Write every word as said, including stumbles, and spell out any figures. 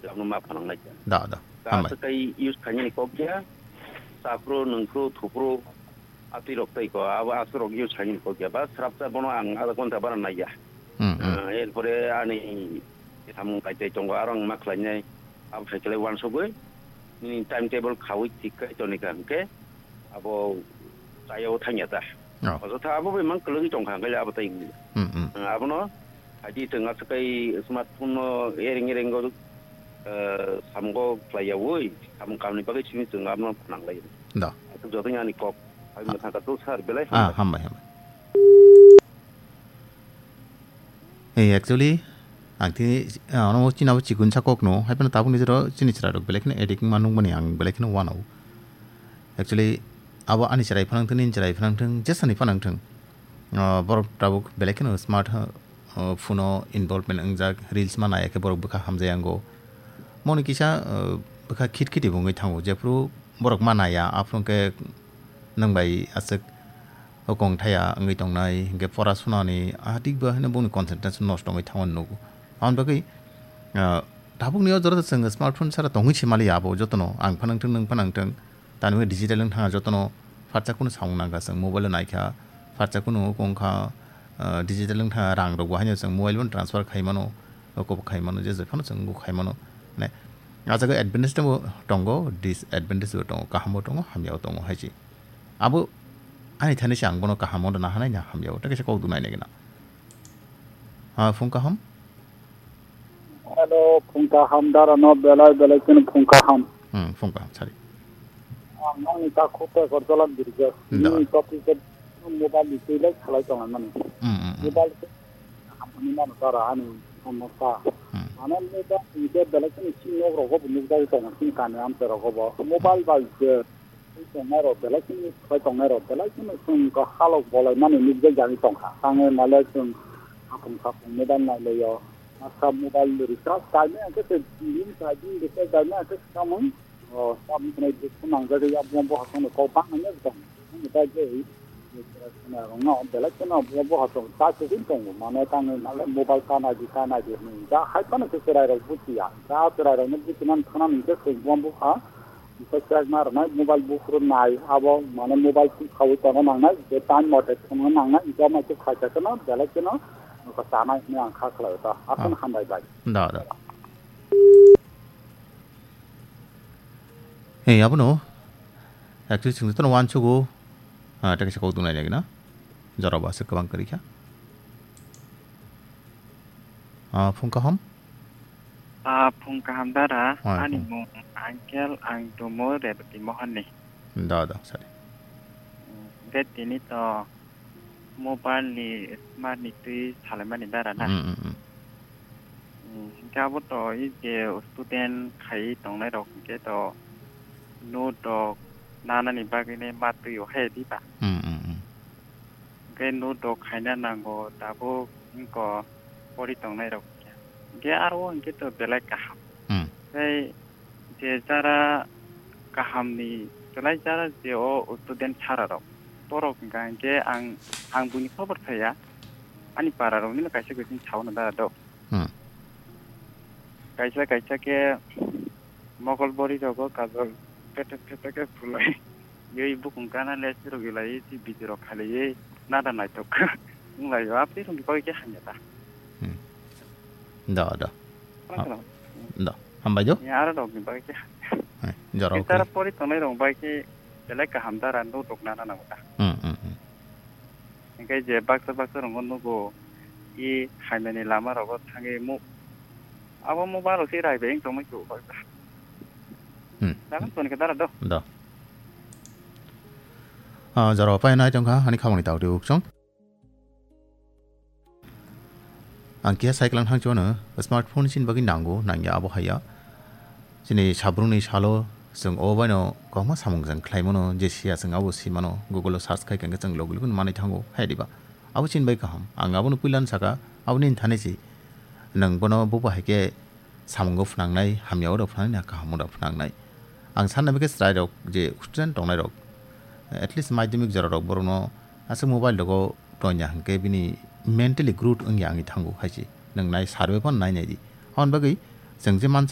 Lamno ma phanang lai kha. Da, da. Hambai. Aswk kai use khainani kok ya. Chaphru, nungphru, thupru, atwi rok tei ko. Abo aswk rok use khainani kok ya. Ba srapsa bono ang adha ghonta bara nai ya. Hmm, hmm. Ah, erpore ani samung kai tei tongo. Aro ang ma khlainai. Abo hai khlai wansugwi. Nini timetable khawi thik kai toni ka hwnkhe. Abo chayao thangya ta. Oh. Ojotha abo bai mang kwlwgwi tongkha, hwnkhe abo tei wngya. Hmm, hmm. Abono haidi chwng aswk kai smartphone no ereng ereng go, eh, samungo khlaiyawi, samung kamni bagwi simi chwng abono phnang lai. Da. Aswk jotoni ani kok. Hai mwthangkha to sir, belai Ah, hambai. Hambai, hambai. Hey, actually, ang tini, ah, ono chini abo chikun sa kok no, hai phano tabuk ni jora chini chwrai rok belai kheno addict wngma nukmani ang belai kheno wano. Actually, abo ani chwrai phanang thung, nini chwrai phanang thung, jesani phanang thung. Ah, borok tabuk belai kheno smart, ah, phone o involvement wngjak, reels ma nai khe borok bwkha hamjai ango. Moni kisa, ah, bwkha khit khiti bo wngwi thango, jephru borok ma naiya, aphuru khe nwng bai aswk o kong thaya wngwi tongnai, hinkhe pora sunani a thik bo haino bongni concentration nosto wngwi thangmani nugo. Aboni bagwi, ah, tabukni o jora chwng smartphone sara tongwi se maliya abo jotono, ang phanang thung, nwng phanang thung, tani bagwi digital wng thangya jotono, phatsa kunu samung nangkha chwng mobile o naikha, phatsa kunu wng kha, ah, digital wng thangya rang rokbo haino chwng mobile bono transfer khai mano, oko bo khai mano, je je phano chwng wngkha khai mano. Mane, ah jaga advantage bo tongo, disadvantage bo tongo, kaham bo tongo, hamya bo tongo hai se. Abo ani thani se ang bono kaham wngna hanai na hamya o, tei kaisa kok dunai nai gana. Ah, phung kaham? Hello, phung kaham dara no belai belai kheno phung kaham. Hmm, phung kaham, sorry. Ang nangni ta khuk pekor cholak dirja. Da. Nini topic ke mobile ni twi lai khalai tong mani. Hmm, hmm, hmm. Mobile ke hamni mano dara ani somosya. Hmm. Mane mobile ni ke belai kheno sini nok rogo bo nukjagwi tong sini kani amcha rogo bo. Mobile bai je Twi tongnai rok belai kheno, twi tongnai rok belai kheno chwng kha halok bolai mani nukjak jagwi tongkha. Tangwi male chwng hapung sapung mobile nai laio. Masa mobile recharge kaimai hwnkhe se din kaidin recharge kaimai hwnkhe se tamung, o, tamung khwnai dukhu nangjagwi abo bo hasongno kok bangmani tong. Ani bagwi, rokno belai kheno bo, bo hasong cha kwchwng tongo. Mane tangwi male mobile ta naidi, ta naidi hwnwi. Ja hai phano se chwrairok buchiya. Ja chwrairokno buchinani thangna hwnkhe chwng bo bupha. Tei chekma rwnai mobile buphuru nai abo mane mobile twi khaui tongna nangnai, je time mote thwngna nangnai, hwnkhe ama khe khaisa kheno belai kheno chanai hwnwi ang kha khlai o ta. Aswk Ah. Hambai bai. Da, da. Hey, abono actually chwng jotono uansugo, ah, tei kaisa kok dungnai nai gana. Jorao bo aswk kwbang kwrwi kha. Ah, phung kaham? Ah, phung kaham dara, Ah, ani phung. Mung Angkel, ang Dumo Rebati Mohon ni. Da, da, sorry. Hmm, de tini to mobile ni smart ni twi salaimani dara na. Hmm, hmm, hmm. Hmm, hingke abo to i je student khai tongnai rok hingke to note rok nanani bagwi ne ma twi o hai di ba. Hmm, hmm, hmm. Hingke note rok khaina nango tabuk wngko pori tongnai rok hingke. Hingke aro hingke to belai kaham. Hmm. Tei je jara kaham ni belai jara je o student sara rok. Borok hingka hingke ang, ang buini khobor thaya. Ani para rok nino kaisa kaisa sao na dara do. Hmm. Kaisa kaisa ke mokol bori rogo kajol petek petek ke phulai. Yoi bukung kana le siro gilai si video rok khalai nada naitok. Wnglaio, apni rungni bagwi khe hamya ta. Hmm. Da, da. Khna Ha-, khna. Da. Hambai do. Ya, aro rokni bagwi khe hamya. Hai, jora Khe okhe. Tara pori tongnai rok bai khe belai kaham dara no rok nana nango ta. Hmm, hmm, hmm. Hingke je baksa baksa rokno nugo, i haimani lama rogo thangwi mu-, abo mobile rok se rai bai wng tongmai khe baksa. Hmm. Dagan toni khe dara do. Da. Ah, jora pai nai tongkha, ani khamani tawdi uksong. Ang keha cycle ang thangchino, smartphone chini bagwi nango, nangya abo haiya. Chini sabrungni salo chwng o baino kwbangma samung jang khlaimano, je siya chwng abo simano, Google o search khai khe chwng logi logi manwi thango, hai diba? Abo chini bai kaham. Ang abono puilano saka, aboni thani si nwng bono bubo hai khe samungo phnangnai, hamya oro phnangnai na kaham oro phnangnai. Ang sanna bagwi chwrairok je student tongnai rok, at least madhyamik jora rok borokno aswk mobile rogo tonya hwnkhe bini mentally growth wngya wngwi thango hai se. Nwng nai survey phano nai nai di. Aboni bagwi chwng je mansa